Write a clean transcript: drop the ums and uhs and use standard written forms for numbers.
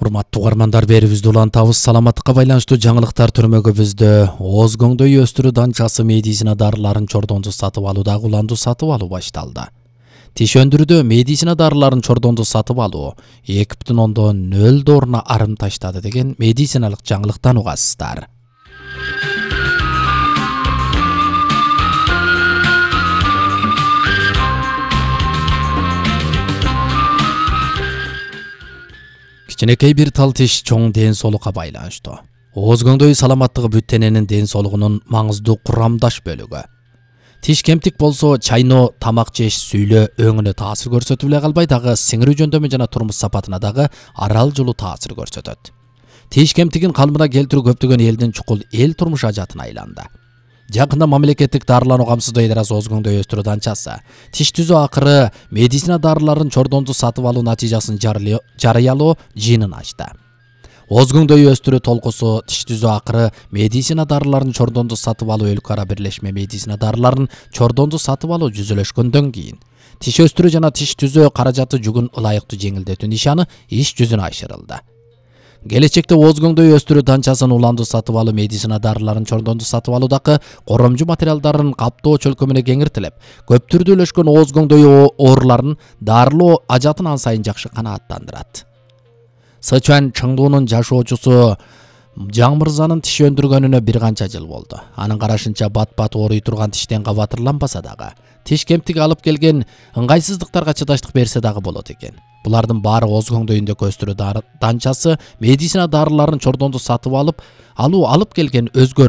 Урматтуу угармандар, берибизди улантабыз. Саламаттыкка байланыштуу жаңылыктар түрмөгүбүздө Озгоңдой өстүрүү данчасы медицина дарыларын чордондо сатып алуудагы уланду сатып алуу башталды. Тиш өндүрүүдө медицина дарыларын чордондо сатып алуу 2,0 долларына арым таштады деген медициналык жаңылыктан угасыздар. Кичинекей бир тал тиш чоң ден соолукка байланыштуу. Озгоңдой саламаттыгы бүт дененин ден соолугунун маңыздуу курамдаш бөлүгү. Тиш кемтик болсо чайноо, тамак жеш, сүйлөө өңүнө таасир көрсөтүп эле калбай, дагы сиңирүү жөндөмү жана турмуш сапатына дагы аралжылуу таасир көрсөтөт. Тиш кемтигин калыбына келтирүү көптөгөн элдин чукул эл турмуш ажатына айланды. Жакында мамлекеттик дарылануу камсыздоо идарасы Озгоңдой өстүрүү данчасы тиш түзөө акыры медицина дарыларын чордондо сатып алуу натыйжасын жарыялоо жыйынын ачты. Озгоңдой өстүрүү толкусу тиш түзөө акыры медицина дарыларын чордондо сатып алуу өлкө ара бирлешме медицина дарыларын чордондо сатып алуу жүзөлөшкөндөн кийин тиш өстүрүү жана тиш түзөө каражаты жүгүн ылайыктуу жеңилдетүү нишаны иш жүзүнө ашырылды. Келечекте Озгоңдой өстүрүү данчасын уланду сатып алуу медицина дарыларын чордондо сатып алуудагы коромжу материалдарын каптоо чөлкөмүнө кеңиртилип, көп түрдүүлөшкөн Озгоңдой ооруларын дарылоо ажатын ан сайын жакшы канааттандырат. Сычуан Чыңдуунун жашоочусу Жаң мырзанын тиш өндүргөнүнө бир канча жыл болду. Анын карашынча бат-бат ооруй турган тиштен кабатырланбаса дагы, тиш кемтиги алып келген ыңгайсыздыктарга чыдаштык берсе дагы болот экен. Булардын баары Озгоңдой өстүрүү данчасы медицина дарыларын чордондо сатып алып келген өзгө